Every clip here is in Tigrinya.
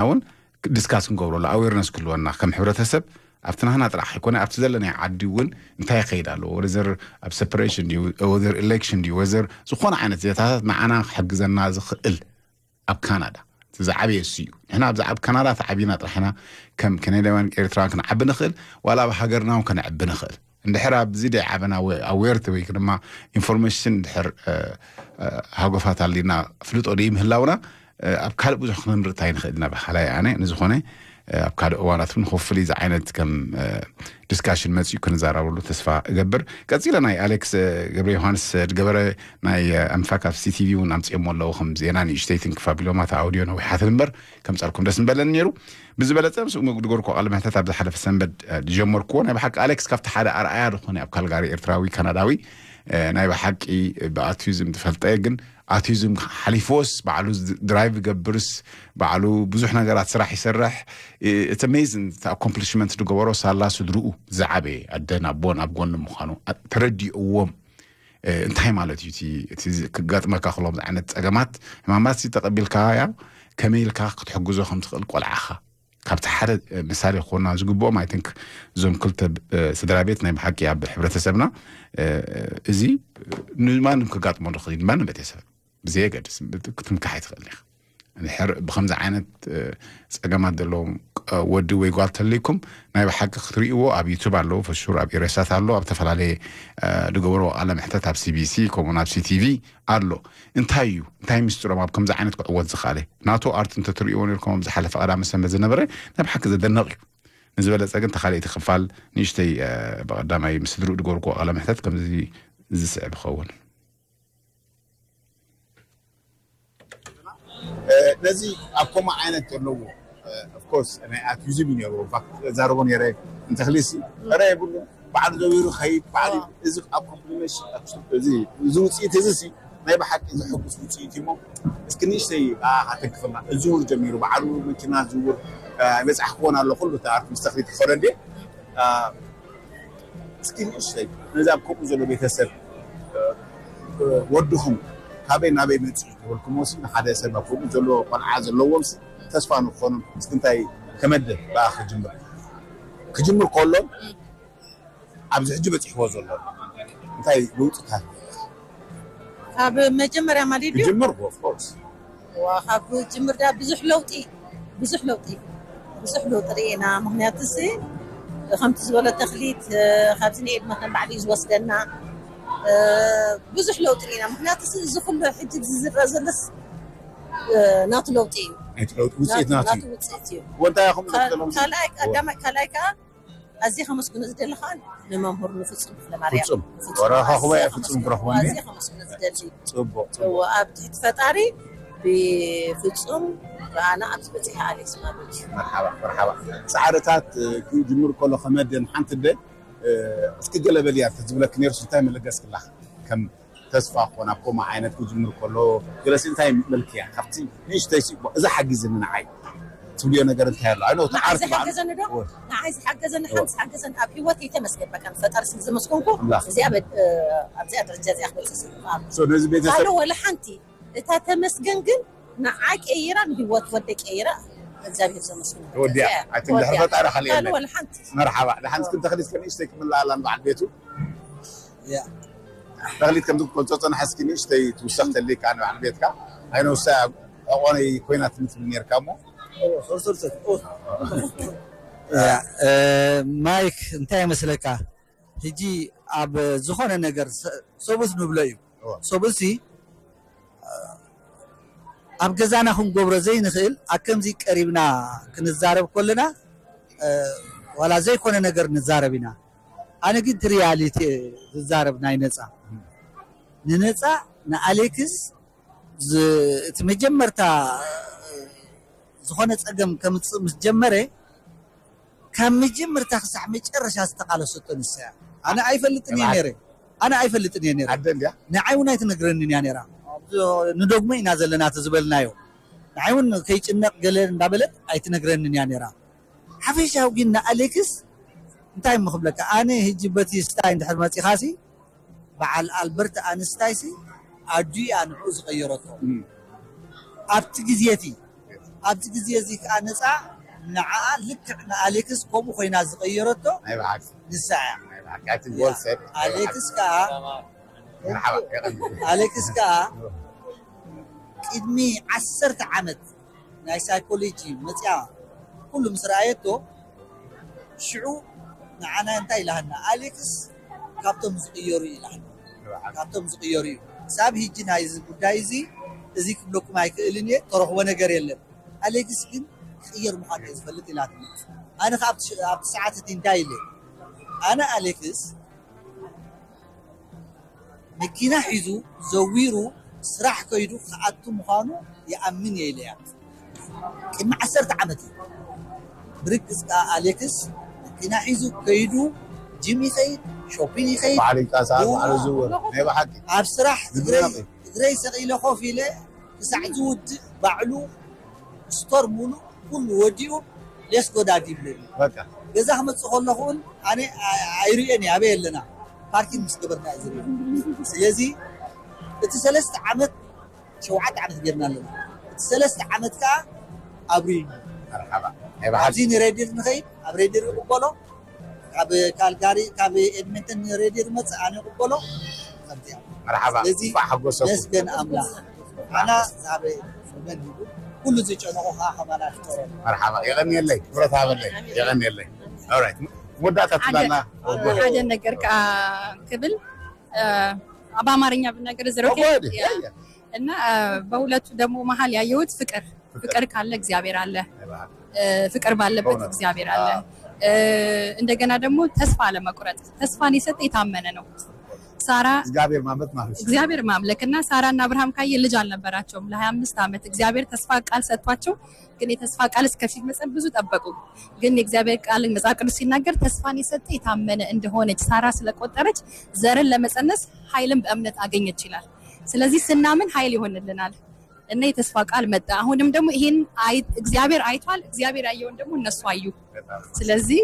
እውን ዲስካስ ክንገብረሉ ኣዌርነስ ክህልወና ከም ሕብረተሰብ ኣብቲ ናህና ጥራሕ ኣይኮነ ኣብቲ ዘለናይ ዓዲ እውን እንታይ ይኸይድ ኣሎ ወዘር ኣብ ሰፐሬሽን ድዩ ወዘር ኤሌክሽን ድዩ ወዘር ዝኾነ ዓይነት ዜታታት ንዓና ክሕግዘና ዝኽእል ኣብ ካናዳ እቲ ዝዓበየ እሱ እዩ። ንሕና ኣብዚ ኣብ ካናዳ ተዓቢና ጥራሕና ከም ከነዳውያን ኤርትራውያን ክንዓቢ ንኽእል ዋላ ኣብ ሃገርና እውን ከነዕቢ ንኽእል። እንድሕር ኣብዚ ደይ ዓበና ኣዌርቲ ወይ ድማ ኢንፎርሜሽን እንድሕር ሃጎፋት ኣሊና ፍልጦ ደይ ምህላውና ኣብ ካልእ ብዙሕ ክነምርእ እንታይ ንኽእል ኢና ብሓላይ ኣነ ንዝኾነ ኣብ ካልእ እዋናት እውን ሆፍሊ እዚ ዓይነት ከም ዲስካሽን መፅኡ ክንዛረበሉ ተስፋ እገብር። ቀፂለ ናይ ኣሌክስ ገብረ ዮሃንስ ዝገበረ ናይ ኣምፋክ ኣብ ሲቲቪ እውን ኣምፅኦሞ ኣለዉ ከም ዜና ንእሽተይ ትንክፍ ኣቢሎማ እታ ኣውዲዮ ነዊሓትን እምበር ከምፀልኩም ደስ ምበለኒ ነይሩ። ብዝበለፀ ምስ ድጎርኮ ቃለ መሕተት ኣብ ዝሓለፈ ሰንበት ዝጀመርኩዎ ናይ ብሓቂ ኣሌክስ ካብቲ ሓደ ኣርኣያ ዝኾነ ኣብ ካልጋሪ ኤርትራዊ ካናዳዊ ናይ ብሓቂ ብኣቲዝም ዝፈልጠ ግን ኣቲዝም ሓሊፍዎስ ባዕሉ ድራይቭ ገብርስ ባዕሉ ብዙሕ ነገራት ስራሕ ይሰርሕ እቲ ሜዝን እቲ ኣኮምፕሊሽመንት ዝገበሮ ሳላ ስድርኡ ዝዓበየ ኣደን ኣቦን ኣብ ጎኒ ምዃኑ ተረዲእዎም እንታይ ማለት እዩ እቲ ክጋጥመካ ክሎም ዓይነት ፀገማት ሕማማት ተቐቢልካ ያ ከመይ ኢልካ ክትሕግዞ ከም ትኽእል ቆልዓኻ ካብቲ ሓደ ምሳሌ ክኾና ዝግብኦም ኣይ ቲንክ እዞም ክልተ ስድራ ቤት ናይ ብሓቂ ኣብ ሕብረተሰብና እዚ ንማንም ክጋጥሞ ንኽእል ማንም ቤተሰብ ብዘየገድስ ክትምካሕ ኣይትኽእል ኢኻ። እንድሕር ብከምዚ ዓይነት ፀገማት ዘለዎም ወዲ ወይ ጓል ተልይኩም ናይ ብሓቂ ክትርእይዎ ኣብ ዩቱብ ኣለዉ ፈሹር ኣብ ኢሬሳት ኣሎ ኣብ ዝተፈላለየ ዝገበርዎ ቃለ ምሕተት ኣብ ሲቢሲ ከምኡን ኣብ ሲቲቪ ኣሎ። እንታይ እዩ እንታይ ምስጢሮም ኣብ ከምዚ ዓይነት ክዕወት ዝኽኣለ ናቱ ኣርት እንተትርእይዎ ነርኩም ኣብ ዝሓለፈ ቀዳመ ሰንበት ዝነበረ ናይ ብሓቂ ዘደነቕ እዩ። ንዝበለፀ ግን ተኻልእቲ ክፋል ንእሽተይ ብቐዳማይ ምስ ስድርኡ ዝገበርክዎ ቃለ ምሕተት ከምዚ ዝስዕብ ይኸውን። ነዚ ኣብ ከምኡ ዓይነት ዘለዎ ኦፍኮርስ ናይ ኣቲዝም እዩ ነይሩ ዛረቦ ነይረ እንተክሊሲ ረ የብሉ ባዕሉ ዘቢሩ ከይድ ባዕሉ እዚ ኣብ ኮምፕሊሜሽን እዚ ውፅኢት እዚ ናይ ብሓቂ ዘሐጉስ ውፅኢት እሞ እስኪ ንእሽተይ ኣተንክፈልና እዝውር ጀሚሩ ባዕሉ መኪና ዝውር ይበፃሕ ክኾን ኣሎ ኩሉ ኣርት ምስ ተክሊት ክኸደ እንዴ እስኪ ንእሽተይ ነዚ ኣብ ከምኡ ዘሎ ቤተሰብ ወድኹም ካበይ ናበይ መፅኡ ተበልኩሞ ሲ ንሓደ ሰብ ኣብ ከምኡ ዘሎ ቆልዓ ዘለዎም ሲ ተስፋ ንክኾኖም እስኪ እንታይ ከመደ ብኣ ክጅምር ክጅምር ከሎ ኣብዚ ሕጂ በፂሕዎ ዘሎ እንታይ ለውጥታት ካብ መጀመርያ ማለት እዩ ክጅምር ኦፍኮርስ ካብ ጅምር ዳ ብዙሕ ለውጢ ብዙሕ ለውጢ ብዙሕ ለውጢ ርኢና ምክንያቱ ሲ ከምቲ ዝበሎ ተክሊት ካብዚ ንኤድ መተን ባዕሉ እዩ ዝወስደና ብዙሕ ለውጢ ርኢና ምክንያቱ ሲ እዚ ኩሉ ሕጂ ዝዝረ ዘለስ ናቱ ለውጢ እዩ ናቱ ለውጢ ውፅኢት ናቱ ናቱ ውፅኢት እዩ ወንታ ያኹም ካልኣይ ቀዳማይ ካልኣይ ከዓ ኣዝየ ከመስግኖ ዝደሊ ከዓ ንመምህር ንፍፁም ክፍለማርያም ፍፁም ወራኻ ኩባኤ ፍፁም ክረኽቦ ኣዝየ ከመስግኖ ዝደሊ ፅቡቅ እዎ ኣብ ትሕቲ ፈጣሪ ብፍፁም ብኣና ኣብዚ በፂሐ ኣሌክስ ማለት እዩ መርሓባ መርሓባ ፃዕርታት ክጅምር ከሎ ከመደን ሓንቲ ደ እስኪ ገለ በልያ ተዝብለክ ነርሱ እንታይ መለገስክላ ከም ተስፋ ኮን ኣብ ከምኡ ዓይነት ክጅምር ከሎ ገለሲ እንታይ መልክያ ካብቲ ንእሽተይ ሲ እዛ ሓጊዝኒ ንዓይ ትብልዮ ነገር እንታይ ኣሎ ኣይ እቲ ዓርኪ ባዕሉ ዝሓገዘኒ ዶ ንዓይ ዝሓገዘኒ ሓንቲ ዝሓገዘኒ ኣብ ሂወት ይተመስገን በቃ ንፈጣሪ ስለ ዘመስገንኩ እዚኣ ኣብዚኣ ደረጃ እዚኣ ክበፅእ ስልጣን ነዚ ቤተሰብ ካልእ ወላ ሓንቲ እታ ተመስገን ግን ንዓይ ቀይራ ንሂወት ወደ ቀይራ እግዚኣብሔር ዘመስግን ወዲያ ኣቲ እንድሕር ፈጣሪ ካልእ የለን ወላ ሓንቲ መርሓባ ድሓን እስክን ተኽሊት ከንእሽተይ ክምልኣላ ንበዓል ቤቱ ተኽሊት ከምዚ ክገልፆ ፀናሐ እስኪ ንእሽተይ ትውሰኽ ተልካ ንበዓል ቤትካ ኣይነውሳ ዕቆነይ ኮይና ትምትብል ነርካ እሞ ማይክ እንታይ ይመስለካ ሕጂ ኣብ ዝኾነ ነገር ሰብኡስ ንብሎ እዩ ሰብኡሲ ኣብ ገዛና ክንገብሮ ዘይንኽእል ኣብ ከምዚ ቀሪብና ክንዛረብ ከለና ዋላ ዘይኮነ ነገር ንዛረብ ኢና ኣነ ግን ትሪያሊቲ ዝዛረብ ናይ ነፃ ንነፃ ንኣሌክስ እቲ መጀመርታ ዝኾነ ፀገም ከምፅእ ምስ ጀመረ ካብ መጀመርታ ክሳዕ መጨረሻ ዝተቃለሰቶ ንሳ እያ ኣነ ኣይፈልጥን እየ ነረ ኣነ ኣይፈልጥን እየ ነረ ንዓይ እውን ኣይትነግረንን እያ ነራ ንደግሞ ኢና ዘለና እቲ ዝበልናዮ ንዓይ እውን ከይጭነቅ ገለ እንዳበለት ኣይትነግረንን እያ ነራ ሓፈሻዊ ግን ንኣሌክስ እንታይ ምክብለካ ኣነ ህጂ በቲ ስታይ እንድሕር መፂኻሲ በዓል ኣልበርት ኣንስታይ ሲ ኣዱ እያ ንዕኡ ዝቀየረቶ ኣብቲ ግዜ እቲ ኣብዚ ግዜ እዚ ከዓ ነፃ ንዓኣ ልክዕ ንኣሌክስ ከምኡ ኮይና ዝቐየረቶ ናይ ብሓቂ ንሳ እያ። ናይ ብሓቂ ኣቲ ጎል ሰድ ኣሌክስ ከዓ መርሓባ የቐኒ ኣሌክስ ከዓ ቅድሚ ዓሰርተ ዓመት ናይ ሳይኮሎጂ መፅያ ኩሉ ምስ ረኣየቶ ሽዑ ንዓና እንታይ ኢላሃና ኣሌክስ ካብቶም ዝቕየሩ ኢላሃና ካብቶም ዝቕየሩ እዩ። ሳብ ሂጂ ናይዚ ጉዳይ እዚ እዚ ክብለኩም ኣይክእልን እየ፣ ተረኽቦ ነገር የለን። ኣሌክስ ግን ክቕየር ምዃኑ እየ ዝፈልጥ ኢላትኒ። ኣነ ከ ኣብቲ ሽ- ኣብቲ ሰዓት እቲ እንታይ ኢለ ኣነ ኣሌክስ መኪና ሒዙ ዘዊሩ ስራሕ ከይዱ ክኣቱ ምዃኑ ይኣምን እየ ኢለያ። ቅድሚ ዓሰርተ ዓመት እዩ። ብርግፅ ከዓ ኣሌክስ መኪና ሒዙ ከይዱ ጅም ይኸይድ፣ ሾፒን ይኸይድ፣ ባዕሉ ይንቀሳቐስ፣ ባዕሉ ዝውር። ናይ ብሓቂ ኣብ ስራሕ እግረይ ዝድነቕ እዩ። እግረይ ሰቒለ ኮፍ ኢለ ክሳዕ ዝውድእ ባዕሉ ስቶር ሙሉእ ኩሉ ወዲኡ ሌስ ጎዳድ ይብለኒ። በቃ ገዛ ክመፅእ ከለኹ እውን ኣነ ኣይርእዮን እየ ኣበይ ኣለና ፓርኪንግ ምስ ገበርና እዩ ዝርኢ። ስለዚ እቲ ሰለስተ ዓመት ሸውዓተ ዓመት ጌርና ኣለና። እቲ ሰለስተ ዓመት ከዓ ኣብሪ መርሓባ ናይ ብሓቂ ኣብዚ ንሬድር ንኸይድ ኣብ ሬድር ይቕበሎ ካብ ካልጋሪ ካብ ኤድመንተን ንሬድር መፅእ ኣነ ይቕበሎ ከምዚኣ መርሓባ ስለዚ እንኳዕ ሓጎሰኩም። መስገን ኣምላኽ ኣና ዛበ መን ይብል ኩሉ ዝጨነቆ ከዓ ከማና ፍጠሮ መርሓባ የቐንየለይ ክብረት ሃበለይ የቐንየለይ። ኦራይት መወዳእታ ሓደ ትብላና ሓደ ነገር ከዓ ክብል እ፣ በአማርኛ ብናገር is it okay? ወደ Yeah. እና እ፣ በሁለቱ ደግሞ መሀል ያየሁት ፍቅር ፍቅር ካለ እግዚአብሔር አለ። እ፣ ፍቅር ባለበት በእውነት። እግዚአብሔር አለ። አዎ። እ፣ እንደገና ደግሞ ተስፋ አለመቁረጥ። ተስፋን የሰጠ የታመነ ነው። ሳራ እግዚአብሔር ማምለክ ማለት ነው። እግዚአብሔር ማምለክ እና ሳራና አብርሃም ካየ ልጅ አልነበራቸውም ለሀያ አምስት ዓመት። እግዚአብሔር ተስፋ ቃል ሰጥቷቸው ግን የተስፋ ቃል እስከፊት መጸን ብዙ ጠበቁ። ግን የእግዚአብሔር ቃል መጽሐፍ ቅዱስ ሲናገር ተስፋን የሰጠ የታመነ እንደሆነች ሳራ ስለቆጠረች ዘርን ለመጸነስ ኃይልን በእምነት አገኘች ይላል። ስለዚህ ስናምን ኃይል ይሆንልናል እና የተስፋ ቃል መጣ። አሁንም ደግሞ ይሄን አይ- እግዚአብሔር አይቷል። እግዚአብሔር ያየውን ደግሞ እነሱ አዩ። ስለዚህ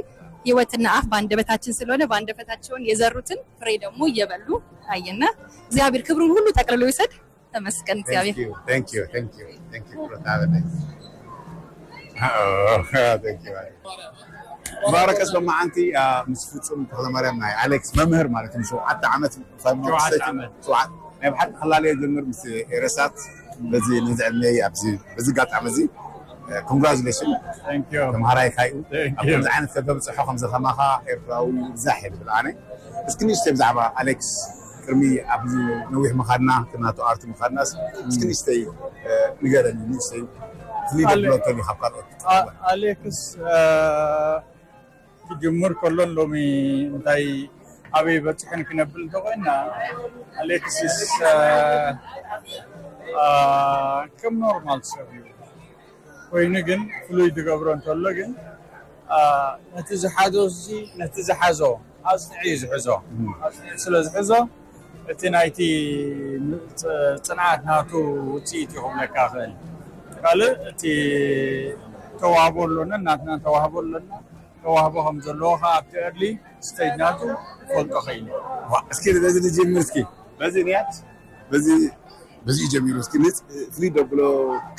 ህይወትና አፍ በአንደበታችን ስለሆነ በአንደበታቸውን የዘሩትን ፍሬ ደግሞ እየበሉ አየና። እግዚአብሔር ክብሩን ሁሉ ጠቅልሎ ይውሰድ። ተመስገን እግዚአብሔር። Thank you, thank you, thank you, thank you, ክብረት ሃበለይ። Oh, thank you. ባረከ ሰማዓንቲ ምስ ፍጹም ተክለማርያም ናይ ኣሌክስ መምህር ማለት እዩ። ሸውዓተ ዓመት ሸውዓተ ዓመት። ሸውዓተ ናይ ብሓቂ ክላለዮ ጀምር ምስ ኤረሳት በዚ ነዚ ዕድመይ ኣብዚ በዚ ኣጋጣሚ እዚ ኮንግራጁሌሽን ተምሃራይ ካዩ ኣብ ከምዚ ዓይነት ከተብፅሖ ከምዚ ከማኻ ኤርትራዊ ብዛሕ እየ ዝብል ኣነ። እስኪ ንእሽተይ ብዛዕባ ኣሌክስ ቅድሚ ኣብዚ ነዊሕ ምኻድና ናቱ ኣርቲ ምኻድናስ እስኪ ንእሽተይ ንገረኒ ንእሽተይ ፍልይ ደብሎ ተልዩ ካብ ካልኦት ኣሌክስ ክጅምር ከሎን ሎሚ እንታይ ኣበይ በፅሕን ክነብል እንተኮይና ኣሌክስስ ከም ኖርማል ሰብ እዩ ኮይኑ ግን ፍሉይ ዝገብሮ እንተሎ ግን ነቲ ዝሓዞ ነቲ ዝሓዞ ኣፅኒዑ እዩ ዝሕዞ ኣፅኒዑ ስለ ዝሕዞ እቲ ናይቲ ፅንዓት ናቱ ውፅኢት እዩ ክብለካ ክእል ካልእ እቲ ተዋህቦ ኣሎና ናትና ተዋህቦ ኣሎና ተዋህቦ ከም ዘለዎ ከዓ ኣብቲ early stage ናቱ ክፈልጦ ክእል እስኪ በዚ ንጅምር እስኪ በዚ ንያት በዚ በዚ ጀሚሩ እስኪ ፍሉይ ደብሎ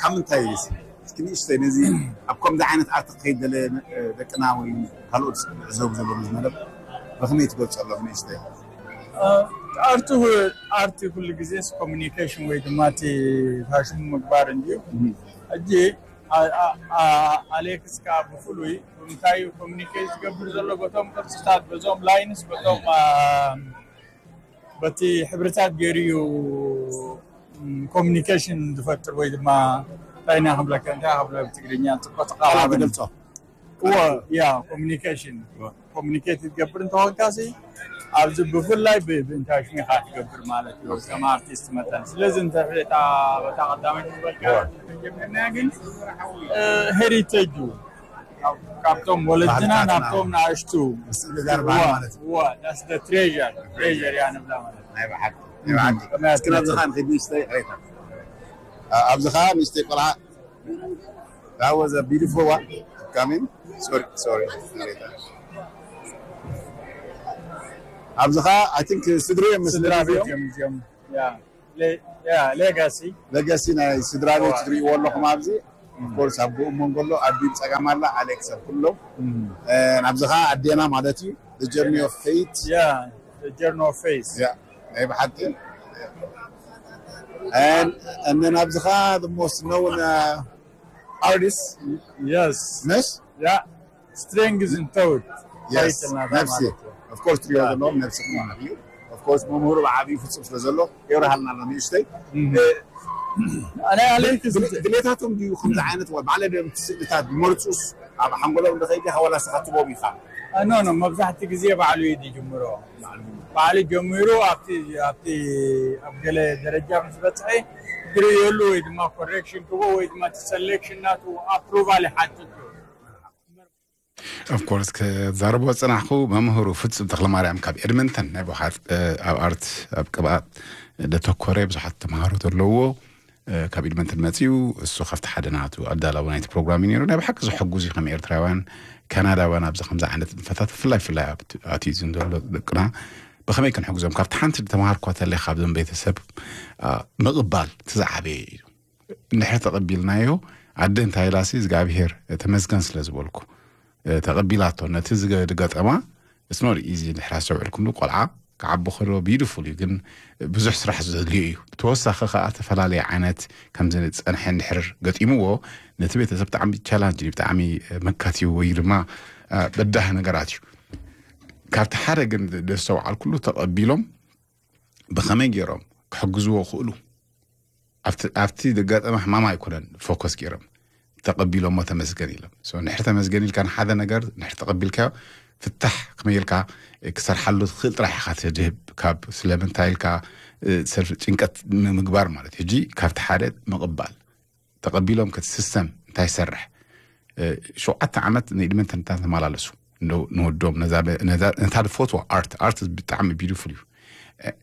ካብ ምንታይ እስኪ ንእሽተይ ነዚ ኣብ ከምዚ ዓይነት ኣርት ክኸይድ ደለ ደቅና ወይ ካልኦት ዝዕዘቡ ዘለዉ መደብ ብኸመይ ትገልፀሎም ንእሽተይ ኣርቲ ኣርቲ ኩሉ ግዜ ኮሚኒኬሽን ወይ ድማ እቲ ፋሽን ምግባር እንድዩ ሕጂ ኣሌክስ ከዓ ብፍሉይ እንታይ ኮሚኒኬት ዝገብር ዘሎ በቶም ቅርፅታት በዞም ላይንስ በቶም በቲ ሕብርታት ገይሩ እዩ ኮሚኒኬሽን ዝፈጥር ወይ ድማ እንታይ ኢና ክብለካ እንታይ ክብለ ብትግርኛ ፅቡቅ ተቃራበ ገልፆ እዎ ያ ኮሚኒኬሽን ኮሚኒኬት ትገብር እንተኾንካ ሲ ኣብዚ ብፍላይ ብእንታይ ሽሚኻ ትገብር ማለት እዩ ከም ኣርቲስት መጠን ስለዚ እንተ በታ ቀዳመ ዝበልካ ጀምርና ግን ሄሪቴጅ ካብቶም ወለድና ናብቶም ንኣሽቱ ምስግጋር ባህል ማለት እዩ። That's the treasure treasure እያ ንብላ ማለት እዩ። ናይ ብሓቂ ናይ ብሓቂ እስኪ ናብዚ ከዓ ንኸይድ ንእሽተይ ቅሬታ ኣብዚ ከዓ ንእሽተይ ቆልዓ That was a beautiful one. Coming. Sorry, sorry. ኣብዚ ከዓ I think ስድሪ እዮም ስድራ ቤት እዮም እዚኦም ያ ሌጋሲ ሌጋሲ ናይ ስድራ ቤት ትሪእዎ ኣለኹም ኣብዚ Of course ኣብ ብኡ መንጎ ኣሎ ኣቢ ብጸጋም ኣላ ኣሌክስ ኣብ ኩሎም ናብዚ ኸዓ ኣዴና ማለት እዩ። The journey of faith. Yeah, the journey of faith. Yeah, ናይ ብሓቂ and and then ኣብዚ ኸዓ the most known uh, artist Yes. ነሽ Yeah. Strength is in thought. Yes, Title ናታ ነፍሲ ማለት እዩ። Of course ትሪኦ ዘለኹም ነፍስኹም ማለት እዩ። Of course መምህሩ ብዓብዩ ፍጹም ስለ ዘሎ የብርሃልና ኣሎ ንእሽተይ ኣነ ኣሌክስ ድሌታቶም ድዩ ከምዚ ዓይነት ባዕለ ድዮም ስእልታት ዝመርፁስ ኣብ ሓንጎሎም እንደኸይዲ ከወላ ስኻ ትቦም ኢኻ ኖ ኖ መብዛሕትኡ ግዜ ባዕሉ እዩ ዝጅምሮ። ባዕሉ ጀሚሩ ኣብቲ ኣብቲ ኣብ ገለ ደረጃ ምስ በፅሐ ክርእየሉ ወይ ድማ ኮሬክሽን ክቦ ወይ ድማ እቲ ሰሌክሽን ናቱ ኣፕሩቫል ይሓትት እዩ። Of course ክዛረቦ ዝጸናሕኩ መምህሩ ፍጹም ተኽለማርያም ካብ ኤድመንተን ናይ ብሓት ኣብ ኣርት ኣብ ቅብኣት ደተኮረ ብዙሓት ተምሃሮ ዘለዎ ካብ ኤድመንተን መጺኡ እሱ ካብቲ ሓደ ናቱ ኣዳላዊ ናይቲ ፕሮግራም እዩ ነይሩ። ናይ ብሓቂ ዘሐጉዝ እዩ ከም ኤርትራውያን ካናዳውያን ኣብዚ ከምዚ ዓይነት ንጥፈታት ብፍላይ ብፍላይ ኣብቲ ኣቲዝም ዘሎ ደቅና ብኸመይ ክንሕግዞም ካብቲ ሓንቲ ዝተምሃርኳ ተለይ ካብዞም ቤተሰብ ምቕባል እቲ ዝዓበየ እዩ። እንድሕር ተቐቢልናዮ ኣደ እንታይ ኢላሲ እግዚኣብሄር ተመስገን ስለ ዝበልኩ ተቐቢላቶ ነቲ ዝገጠማ it's not easy እንድሕር ኣስተውዕልኩምሉ ቆልዓ ክዓቢ ከሎ beautiful እዩ ግን ብዙሕ ስራሕ ዘድልዮ እዩ። ተወሳኺ ከዓ ዝተፈላለየ ዓይነት ከምዚ ዝፀንሐ እንድሕር ገጢምዎ ነቲ ቤተሰብ ብጣዕሚ challenge እዩ ብጣዕሚ መካት እዩ ወይ ድማ በዳህ ነገራት እዩ። ካብቲ ሓደ ግን ዘስተውዓልኩሉ ተቐቢሎም ብኸመይ ገይሮም ክሕግዝዎ ክእሉ ኣብቲ ዘጋጠመ ሕማም ኣይኮነን focus ገይሮም ተቐቢሎሞ ተመስገን ኢሎም። So እንድሕር ተመስገን ኢልካ ንሓደ ነገር እንድሕር ተቐቢልካዮ ፍታሕ ከመይ ኢልካ ክሰርሓሉ ትኽእል ጥራሕ ኢኻ ትድህብ ካብ ስለምንታይ ኢልካ ሰልፍ ጭንቀት ምግባር ማለት እዩ። ሕጂ ካብቲ ሓደ ምቕባል ተቐቢሎም ከቲ system እንታይ ይሰርሕ ሸውዓተ ዓመት ንኢድመንተን ተመላለሱ ንወዶም ነታ ዝፈትዋ art art ብጣዕሚ beautiful እዩ።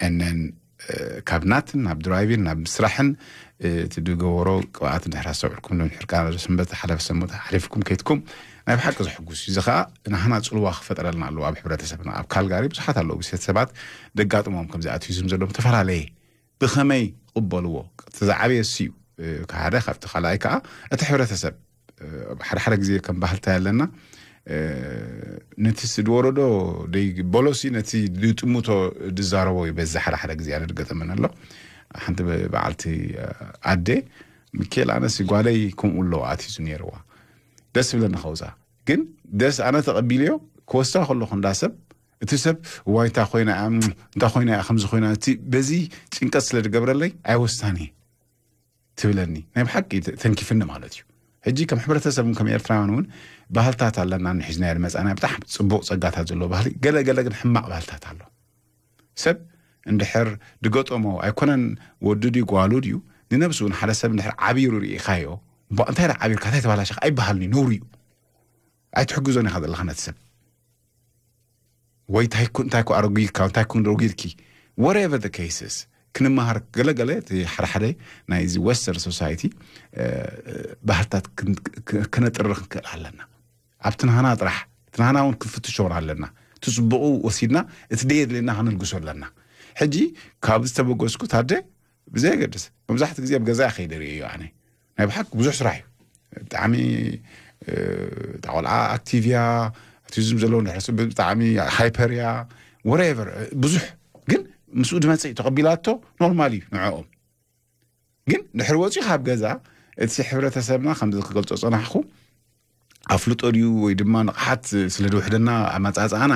And then ካብ ናትን ናብ ድራይቪን ናብ ምስራሕን እቲ ዝገበሮ ቅብኣት እንድሕር ኣስተውዕልኩም እንድሕር ከዓ ሰንበት ሓለፈ ሰንበት ሓሊፍኩም ከይትኩም ናይ ብሓቂ ዘሕጉስ እዩ። እዚ ከዓ ናህና ፅልዋ ክፈጥረልና ኣለዎ ኣብ ሕብረተሰብና። ኣብ ካልጋሪ ብዙሓት ኣለዉ ብሴት ሰባት ደጋጥሞም ከምዚ ኣቲዝም ዘለዎም ዝተፈላለየ ብኸመይ ይቕበልዎ እቲ ዝዓበየ እሱ እዩ። ሓደ ካብቲ ካልኣይ ከዓ እቲ ሕብረተሰብ ሓደ ሓደ ግዜ ከም ባህልታ ኣለና ነቲ ዝወረዶ ደይበሎሲ ነቲ ዝጥምቶ ዝዛረቦ ይበዝሕ ሓደ ሓደ ግዜ ኣነ ዝገጠመኒ ኣሎ። ሓንቲ በዓልቲ ኣደ ሚኬል ኣነሲ ጓለይ ከምኡ ኣለዋ ኣትዩ ነይርዋ ደስ ዝብለኒ ከውፃ ግን ደስ ኣነ ተቐቢልዮ ክወስዳ ከለኹ እንዳ ሰብ እቲ ሰብ ዋይ እንታይ ኮይና እያ እንታይ ኮይና እያ ከምዚ ኮይና እቲ በዚ ጭንቀት ስለ ዝገብረለይ ኣይወስዳን እየ ትብለኒ ናይ ብሓቂ ተንኪፍኒ ማለት እዩ። ሕጂ ከም ሕብረተሰብ ከም ኤርትራውያን እውን ባህልታት ኣለና ንሒዝናዮ ዝመፃና ብጣዕሚ ፅቡቕ ፀጋታት ዘለዎ ባህሊ ገለ ገለ ግን ሕማቕ ባህልታት ኣሎ። ሰብ እንድሕር ድገጠሞ ኣይኮነን ወዱ ድዩ ጓሉ ድዩ ንነብሱ እውን ሓደ ሰብ እንድሕር ዓቢሩ ርኢኻዮ እንታይ ዳ ዓቢርካ እንታይ ተባላሸኻ ኣይበሃልን እዩ ነውሪ እዩ። ኣይትሕግዞን ኢኻ ዘለኻ ነቲ ሰብ ወይ እንታይ ኮ ኣረጊድካ እንታይ ኮ ረጊድኪ whatever the cases ክንመሃር ገለገለ እቲ ሓደ ሓደ ናይዚ western society ባህልታት ክነጥርር ክንክእል ኣለና። ኣብቲ ናህና ጥራሕ እቲ ናህና እውን ክንፍትሾ ኣለና። እቲ ፅቡቑ ወሲድና እቲ ደየድልየና ከነልግሶ ኣለና። ሕጂ ካብ ዝተበገስኩ ታደ ብዘየገድስ መብዛሕትኡ ግዜ ኣብ ገዛ ከይደ ርእዮ ኣነ ናይ ብሓቂ ብዙሕ ስራሕ እዩ። ብጣዕሚ እታ ቆልዓ ኣክቲቭ እያ ኣቲዝም ዘለዎ ንሕርሱ ብጣዕሚ ሃይፐር እያ whatever ብዙሕ ግን ምስኡ ድመፅእ ተቐቢላቶ ኖርማል እዩ ንዕኦም። ግን ድሕሪ ወፂኡ ካብ ገዛ እቲ ሕብረተሰብና ከምዚ ክገልፆ ፀናሕኩ ኣፍልጦ ድዩ ወይ ድማ ንቕሓት ስለ ዝውሕደና ኣመፃፅኣና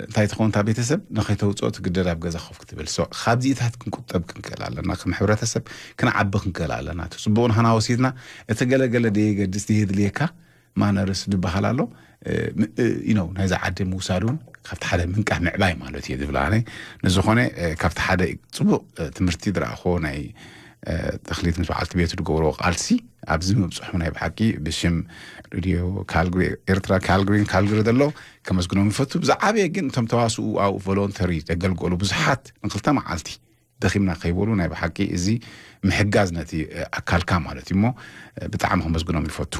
እንታይ ትኸውን እታ ቤተሰብ ንኸይተውፅኦ ትግደድ ኣብ ገዛ ኮፍ ክትብል። So ካብዚኢታት ክንቁጠብ ክንክእል ኣለና። ከም ሕብረተሰብ ክንዓቢ ክንክእል ኣለና። እቲ ፅቡቕ ንህና ወሲድና እቲ ገለገለ ደየገድስ ደየድልየካ ማነርስ ዝበሃል ኣሎ you know ናይዛ ዓዲ ምውሳድ እውን ካብቲ ሓደ ምንቃሕ ምዕባይ ማለት እየ ዝብል ኣነ። ንዝኾነ ካብቲ ሓደ ፅቡቕ ትምህርቲ ዝረኣኽዎ ናይ ተኽሊት ምስ በዓልቲ ቤቱ ዝገብርዎ ቃልሲ ኣብዚ ምብፅሑ ናይ ብሓቂ ብሽም ሬድዮ ካልግሪ ኤርትራ ካልግሪን ካልግሪ ዘሎ ከመስግኖም ይፈቱ። ብዝዓበየ ግን እቶም ተዋስኡ ኣብኡ ቮሎንተሪ ዘገልገሉ ብዙሓት ንክልተ መዓልቲ ደኺምና ከይበሉ ናይ ብሓቂ እዚ ምሕጋዝ ነቲ ኣካልካ ማለት እዩ እሞ ብጣዕሚ ከመስግኖም ይፈቱ።